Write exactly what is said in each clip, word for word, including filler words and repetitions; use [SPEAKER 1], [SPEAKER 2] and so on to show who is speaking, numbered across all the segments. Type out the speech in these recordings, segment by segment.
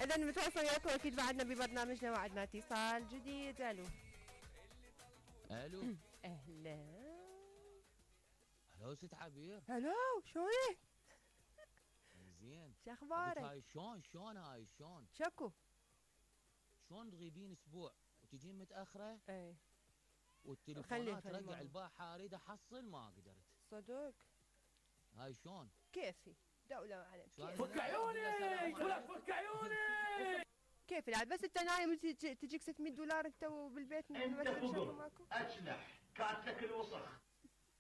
[SPEAKER 1] اذا متواصل وياكم اكيد بعدنا ببرنامجنا وعدنا اتصال جديد. الو
[SPEAKER 2] الو
[SPEAKER 1] اهلا.
[SPEAKER 2] الو ست عبير.
[SPEAKER 1] الو شلونك؟
[SPEAKER 2] زين.
[SPEAKER 1] شو
[SPEAKER 2] اقولك
[SPEAKER 1] اخبارك؟
[SPEAKER 2] هاي شلون شلون هاي شلون
[SPEAKER 1] شكو؟
[SPEAKER 2] شلون تغيبين اسبوع وتجين متاخره
[SPEAKER 1] اي
[SPEAKER 2] والتليفونات
[SPEAKER 1] خلي
[SPEAKER 2] رقع
[SPEAKER 1] خلي
[SPEAKER 2] البارحه اريد احصل ما قدرت.
[SPEAKER 1] صدق
[SPEAKER 2] هاي شلون؟
[SPEAKER 1] كيفي دولة معنا
[SPEAKER 3] فك عيوني ولك فك عيوني.
[SPEAKER 1] كيف العاد بس انت نايم وتجي- تجيك ستمية دولار انت وبالبيت ما
[SPEAKER 3] انت
[SPEAKER 1] تدري شغل
[SPEAKER 3] فقر
[SPEAKER 1] ماكو.
[SPEAKER 3] اجنح كاتلك الوسخ.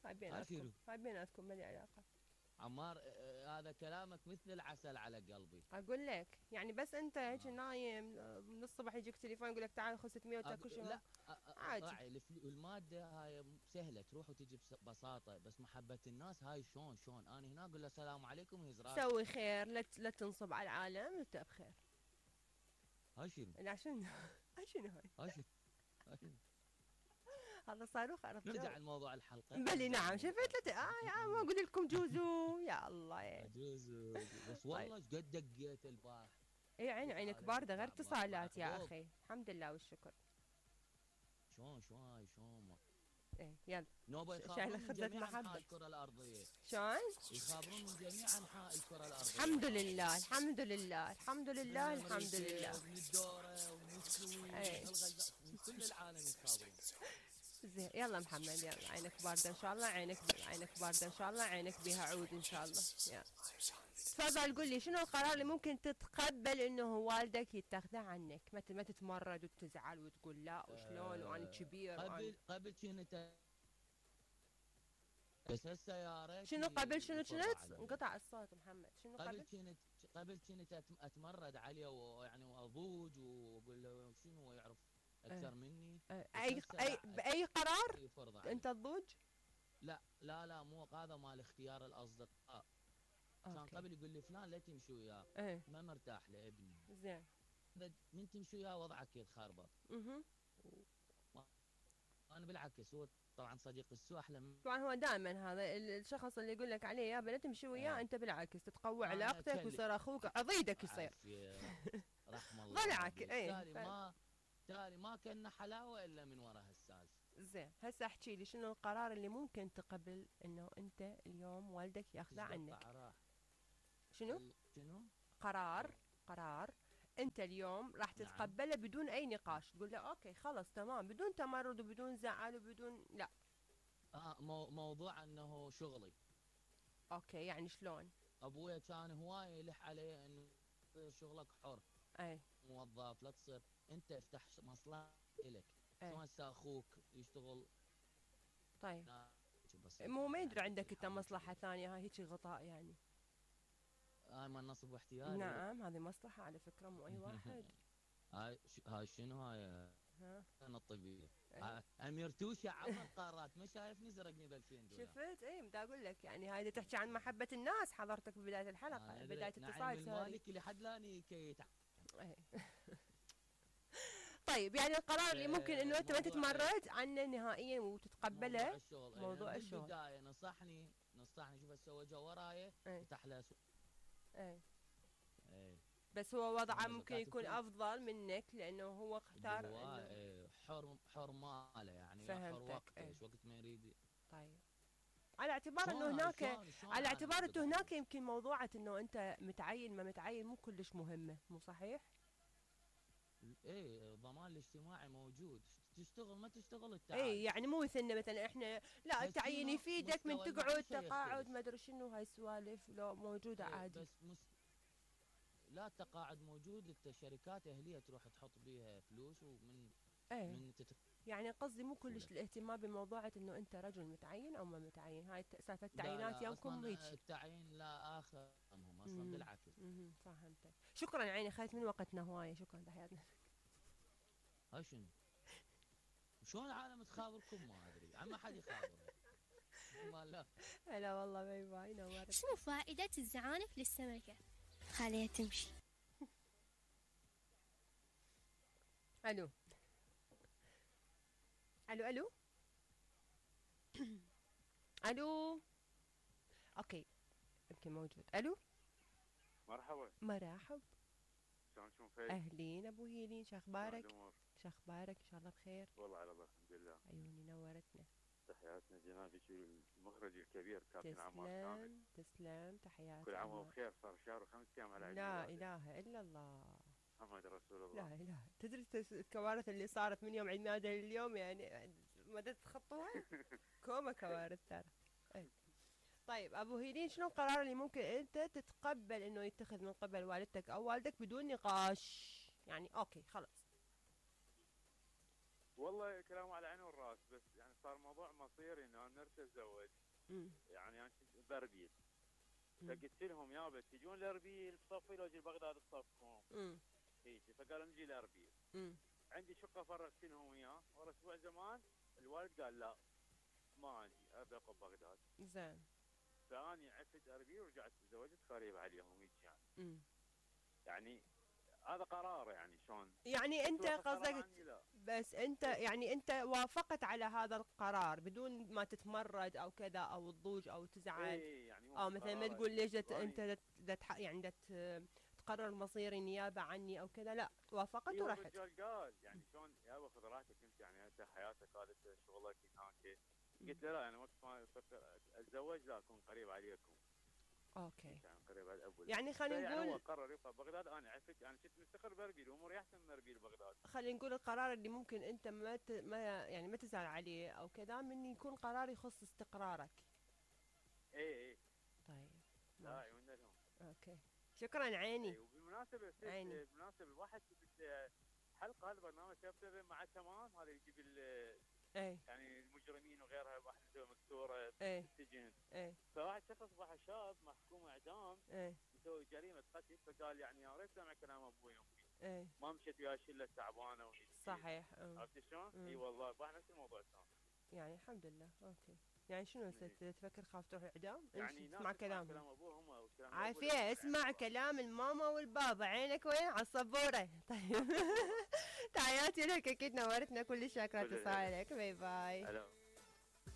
[SPEAKER 1] هاي بيناتكم هاي بيناتكم ما لي علاقة.
[SPEAKER 2] عمار آه، هذا كلامك مثل العسل على قلبي.
[SPEAKER 1] اقول لك يعني بس انت هيك نايم آه، من الصبح يجيك تليفون يقول لك تعال خذ ستمية وتاكل
[SPEAKER 2] أق-
[SPEAKER 1] شو.
[SPEAKER 2] لا
[SPEAKER 1] عادي.
[SPEAKER 2] راعي الفل- الماده هاي سهله تروح وتجي ببساطه، بس محبه الناس هاي شلون شلون انا هنا اقول له السلام عليكم يزرع.
[SPEAKER 1] سوي خير لا ت- لا تنصب على العالم انت بخير.
[SPEAKER 2] هاي شنو؟
[SPEAKER 1] لا شنو هاي شنو هاي؟
[SPEAKER 2] هاي شنو؟ هاي شنو؟
[SPEAKER 1] هذا صاروخ عرفت.
[SPEAKER 2] نرجع لموضوع الحلقه.
[SPEAKER 1] بلي نعم شفت لا اه يا ما اقول لكم جوزو يا الله يا
[SPEAKER 2] عجوز بس والله ايش قد دقيت البارح.
[SPEAKER 1] اي عيني عينك بارده غير اتصالات يا اخي الحمد لله والشكر.
[SPEAKER 2] شلون شلون هاي شلون ما
[SPEAKER 1] ايه يلا
[SPEAKER 2] نوبه
[SPEAKER 1] شايله
[SPEAKER 2] يخابرون من
[SPEAKER 1] خبزة
[SPEAKER 2] جميع
[SPEAKER 1] محبة.
[SPEAKER 2] انحاء الكره الارضيه.
[SPEAKER 1] شلون؟
[SPEAKER 2] يخابرون من جميع انحاء الكره الارضيه.
[SPEAKER 1] الحمد لله الحمد لله الحمد لله الحمد لله.
[SPEAKER 2] من الدوره ومن السويد
[SPEAKER 1] ايه.
[SPEAKER 2] من كل العالم يخابرون.
[SPEAKER 1] زين يلا محمد يلا عينك بارده ان شاء الله عينك عينك بارده ان شاء الله عينك بيها عود ان شاء الله. يلا تفضل قول لي شنو القرار اللي ممكن تتقبل انه والدك يتخذه عنك؟ ما ت- ما تتمرد وتزعل وتقول لا وشلون وانا كبير وأنا
[SPEAKER 2] قبل قبل كنت بس هالسيارة
[SPEAKER 1] شنو قبل شنو
[SPEAKER 2] يفرض
[SPEAKER 1] كنت؟
[SPEAKER 2] علي.
[SPEAKER 1] انقطع الصوت محمد شنو
[SPEAKER 2] قبل
[SPEAKER 1] قبل؟
[SPEAKER 2] كنت قبل كنت أت- اتمرد عليه ويعني واضوج واقول له شنو هو يعرف اكثر
[SPEAKER 1] اه.
[SPEAKER 2] مني.
[SPEAKER 1] اه.
[SPEAKER 2] بس
[SPEAKER 1] اي
[SPEAKER 2] هسه
[SPEAKER 1] اي
[SPEAKER 2] لا،
[SPEAKER 1] باي قرار
[SPEAKER 2] يفرض علي.
[SPEAKER 1] انت تضوج؟
[SPEAKER 2] لا لا لا مو هذا مال اختيار الاصدقاء. كان
[SPEAKER 1] اوكي.
[SPEAKER 2] قبل يقول لي فلان لا تمشي وياه
[SPEAKER 1] ايه
[SPEAKER 2] ما مرتاح لابني.
[SPEAKER 1] زين.
[SPEAKER 2] إذا من تمشي وياه وضعك يتخربط.
[SPEAKER 1] اها
[SPEAKER 2] انا بالعكس هو طبعا صديق السوء احلى من
[SPEAKER 1] طبعا هو دائما هذا ال- الشخص اللي يقول لك عليه يابا لا تمشي وياه
[SPEAKER 2] اه.
[SPEAKER 1] انت بالعكس تتقوى
[SPEAKER 2] أنا
[SPEAKER 1] علاقتك
[SPEAKER 2] أكلم.
[SPEAKER 1] ويصير اخوك عضيدك يصير.
[SPEAKER 2] عافية رحم الله
[SPEAKER 1] ضلعك
[SPEAKER 2] أبيك.
[SPEAKER 1] ايه
[SPEAKER 2] تالي
[SPEAKER 1] ف-
[SPEAKER 2] ما تالي ما كنا حلاوه الا من وراء هالسالفه.
[SPEAKER 1] زين هسه احكي لي شنو القرار اللي ممكن تقبل انه انت اليوم والدك ياخذه عنك؟
[SPEAKER 2] راح
[SPEAKER 1] شنو؟
[SPEAKER 2] شنو؟
[SPEAKER 1] قرار قرار انت اليوم راح
[SPEAKER 2] نعم.
[SPEAKER 1] تتقبله بدون اي نقاش تقول له اوكي خلص تمام بدون تمرد وبدون زعل وبدون لا.
[SPEAKER 2] آه مو موضوع انه شغلي.
[SPEAKER 1] اوكي يعني شلون؟
[SPEAKER 2] ابويا كان هوايه يلح علي انه تصير شغلك حر
[SPEAKER 1] اي
[SPEAKER 2] موظف لا تصير انت افتح مصلحه لك.
[SPEAKER 1] اي
[SPEAKER 2] شلون هسه اخوك يشتغل
[SPEAKER 1] طيب
[SPEAKER 2] لا، بسيط.
[SPEAKER 1] مو ما يدري عندك انت مصلحة ثانية هاي هيك غطاء يعني.
[SPEAKER 2] هاي ما نصب واحتيال.
[SPEAKER 1] نعم هذه مصلحة على فكرة مو اي واحد.
[SPEAKER 2] هاي ش- هاي شنو هاي
[SPEAKER 1] ها
[SPEAKER 2] انا الطبيعي.
[SPEAKER 1] إيه.
[SPEAKER 2] امير توشه عمر قارات ما شايفني زرقني ب ألفين دولار.
[SPEAKER 1] شفت اي بدي اقول لك يعني هاي تحكي عن محبة الناس حضرتك ببداية الحلقة
[SPEAKER 2] آه،
[SPEAKER 1] بداية
[SPEAKER 2] نعيم
[SPEAKER 1] اتصال سوري.
[SPEAKER 2] المالكي لحد لاني كي يتع-
[SPEAKER 1] إيه. طيب يعني القرار اللي ممكن انه انت ما
[SPEAKER 2] موضوع-
[SPEAKER 1] تتمرد عنه نهائيا وتتقبله.
[SPEAKER 2] موضوع الشغل.
[SPEAKER 1] موضوع
[SPEAKER 2] يعني
[SPEAKER 1] الشغل.
[SPEAKER 2] بالبدايه نصحني نصحني شوف هسه هو جا وراي
[SPEAKER 1] ايه
[SPEAKER 2] فتح له سوق.
[SPEAKER 1] ايه
[SPEAKER 2] ايه
[SPEAKER 1] بس هو وضعه
[SPEAKER 2] هو
[SPEAKER 1] ممكن
[SPEAKER 2] كاتب
[SPEAKER 1] يكون
[SPEAKER 2] فيه.
[SPEAKER 1] افضل منك لانه هو اختار
[SPEAKER 2] هو
[SPEAKER 1] إنه-
[SPEAKER 2] إيه، حر حر ماله يعني حر
[SPEAKER 1] فهمتك،
[SPEAKER 2] وقته
[SPEAKER 1] إيه.
[SPEAKER 2] ايش وقت ما يريد.
[SPEAKER 1] طيب على اعتبار انه
[SPEAKER 2] شلون هاي؟
[SPEAKER 1] هناك
[SPEAKER 2] شلون- شلون
[SPEAKER 1] على
[SPEAKER 2] هاي
[SPEAKER 1] اعتبار انه
[SPEAKER 2] تقدر؟
[SPEAKER 1] هناك يمكن موضوعة انه انت متعين ما متعين مو كلش مهمة مو صحيح؟
[SPEAKER 2] ايه الضمان الاجتماعي موجود تشتغل ما تشتغل التعال.
[SPEAKER 1] اي يعني مو مثلنا مثلا احنا لا
[SPEAKER 2] بس
[SPEAKER 1] التعيين
[SPEAKER 2] شنو
[SPEAKER 1] يفيدك من
[SPEAKER 2] مستوى
[SPEAKER 1] تقعد
[SPEAKER 2] المعيشة
[SPEAKER 1] تقاعد
[SPEAKER 2] يختلف.
[SPEAKER 1] ما ادري شنو هاي السوالف لو موجودة
[SPEAKER 2] إيه،
[SPEAKER 1] عادي.
[SPEAKER 2] بس مس... لا التقاعد موجود الشركات اهليه تروح تحط بيها فلوس ومن
[SPEAKER 1] ايه
[SPEAKER 2] من تت...
[SPEAKER 1] يعني قصدي مو كلش
[SPEAKER 2] ولا.
[SPEAKER 1] الاهتمام بموضوعة انه انت رجل متعين او ما متعين هاي الت- سالفة
[SPEAKER 2] لا
[SPEAKER 1] التعيينات
[SPEAKER 2] لا
[SPEAKER 1] يومكم
[SPEAKER 2] اصلا
[SPEAKER 1] هيك.
[SPEAKER 2] التعيين لا اخر همهم اصلا
[SPEAKER 1] مم.
[SPEAKER 2] بالعكس.
[SPEAKER 1] مم، فهمتك. شكرا عيني خذت من وقتنا هواية شكرا تحياتنا.
[SPEAKER 2] هاي شنو؟ شلون العالم تخابركم ما ادري عم حد يخابر. ما لا
[SPEAKER 1] هلا والله باي باي نورت.
[SPEAKER 4] شنو فائدة الزعانف للسمكة؟ خليها تمشي.
[SPEAKER 1] الو الو الو الو اوكي يمكن موجود. الو
[SPEAKER 5] مرحبا
[SPEAKER 1] مرحب
[SPEAKER 5] شلون شلونك اخي.
[SPEAKER 1] اهلين ابو هيلين، شو اخبارك؟
[SPEAKER 5] الامور؟
[SPEAKER 1] شو اخبارك؟ ان شاء الله بخير.
[SPEAKER 5] والله على الله الحمد لله.
[SPEAKER 1] عيوني نورتنا.
[SPEAKER 5] تحياتنا جنابك المخرج الكبير كابتن عمار كامل.
[SPEAKER 1] تسلم تسلم، تحياتي.
[SPEAKER 5] كل عام
[SPEAKER 1] عمار.
[SPEAKER 5] وهو بخير، صار شهر وخمس ايام على عيد
[SPEAKER 1] لا
[SPEAKER 5] ميلاده.
[SPEAKER 1] اله الا الله.
[SPEAKER 5] محمد رسول الله.
[SPEAKER 1] لا اله. تدري التس- الكوارث اللي صارت من يوم عيد ميلاده لليوم يعني ما تتخطوها؟ كوما كوارث ترى. إيه. طيب ابو هيلين، شنو القرار اللي ممكن انت تتقبل انه يتخذ من قبل والدتك او والدك بدون نقاش؟ يعني اوكي خلاص.
[SPEAKER 5] والله كلامه على عيني والراس، بس يعني صار موضوع مصيري انه انا نرت اتزوج.
[SPEAKER 1] امم
[SPEAKER 5] يعني انا كنت باربيل،
[SPEAKER 1] مم.
[SPEAKER 5] فقلت لهم يابا تجون لاربيل بصفي لو اجي بغداد بصفكم
[SPEAKER 1] امم
[SPEAKER 5] هيك، فقالوا نجي لاربيل.
[SPEAKER 1] امم
[SPEAKER 5] عندي شقه فرغت لهم اياه، ورا اسبوع زمان الوالد قال لا ما اجي ابي اقعد بغداد.
[SPEAKER 1] زين.
[SPEAKER 5] فاني عفت اربيل ورجعت تزوجت قريب عليهم هيك يعني.
[SPEAKER 1] امم
[SPEAKER 5] يعني هذا قرار يعني شلون.
[SPEAKER 1] يعني انت
[SPEAKER 5] بس هو قرار
[SPEAKER 1] قصدك،
[SPEAKER 5] عني لا.
[SPEAKER 1] بس انت يعني انت وافقت على هذا القرار بدون ما تتمرد او كذا او تضوج او تزعل
[SPEAKER 5] ايه يعني مو
[SPEAKER 1] او مثلا ما
[SPEAKER 5] قرار
[SPEAKER 1] تقول ليش دت
[SPEAKER 5] يعني.
[SPEAKER 1] انت دت دت ح- يعني دت تقرر مصيري نيابه عني او كذا؟ لا، وافقت
[SPEAKER 5] إيه
[SPEAKER 1] ورحت.
[SPEAKER 5] الرجال قال يعني شلون يابا خذ راحتك انت، يعني انت حياتك هذا شغلك هناك. قلت له لا انا وقت ما افكر اتزوج لا اكون قريب عليكم.
[SPEAKER 1] اوكي.
[SPEAKER 5] يعني قريب على الابو.
[SPEAKER 1] يعني خلينا
[SPEAKER 5] يعني هو
[SPEAKER 1] نقول
[SPEAKER 5] قرر يبقى بغداد، انا عفت انا كنت مستقر باربيل واموري احسن من اربيل بغداد.
[SPEAKER 1] خلينا نقول القرار اللي ممكن انت ما ت... ما يعني ما تزعل عليه او كذا، من يكون قرار يخص استقرارك.
[SPEAKER 5] ايه ايه.
[SPEAKER 1] طيب
[SPEAKER 5] لا
[SPEAKER 1] ماشي.
[SPEAKER 5] عيوننا لهم.
[SPEAKER 1] اوكي شكرا عيني.
[SPEAKER 5] إيه وبالمناسبه ست-
[SPEAKER 1] عيني.
[SPEAKER 5] بالمناسبه الواحد شفت حلقه هذا البرنامج شفته مع تمام، هذا يجيب ال-
[SPEAKER 1] ايه
[SPEAKER 5] يعني المجرمين وغيرها، واحد مكسوره
[SPEAKER 1] ايه
[SPEAKER 5] بالسجن.
[SPEAKER 1] ايه
[SPEAKER 5] فواحد شخص واحد شاب محكوم اعدام
[SPEAKER 1] ايه
[SPEAKER 5] يسوي جريمه قتل، فقال يعني يا ريت سمع كلام ابوي وامي،
[SPEAKER 1] ايه
[SPEAKER 5] ما مشيت ويا شله تعبانه وهيك.
[SPEAKER 1] صحيح. أم.
[SPEAKER 5] عرفت شلون؟
[SPEAKER 1] مم.
[SPEAKER 5] اي والله واحد نفس الموضوع كان.
[SPEAKER 1] يعني الحمد لله. اوكي. يعني شنو هسه
[SPEAKER 5] إيه.
[SPEAKER 1] تفكر خاف تروح اعدام؟
[SPEAKER 5] يعني
[SPEAKER 1] امشي
[SPEAKER 5] ناس
[SPEAKER 1] اسمع
[SPEAKER 5] تسمع
[SPEAKER 1] كلامهم.
[SPEAKER 5] كلام ابوهم وكلام الأبو
[SPEAKER 1] عافية،
[SPEAKER 5] لا
[SPEAKER 1] اسمع
[SPEAKER 5] يعني
[SPEAKER 1] كلام الماما والبابا، عينك وين؟ على السبورة. طيب. تحياتي لك، اكيد نورتنا، كل شكرا
[SPEAKER 5] كل-
[SPEAKER 1] اتصالك. باي باي.
[SPEAKER 5] هلا.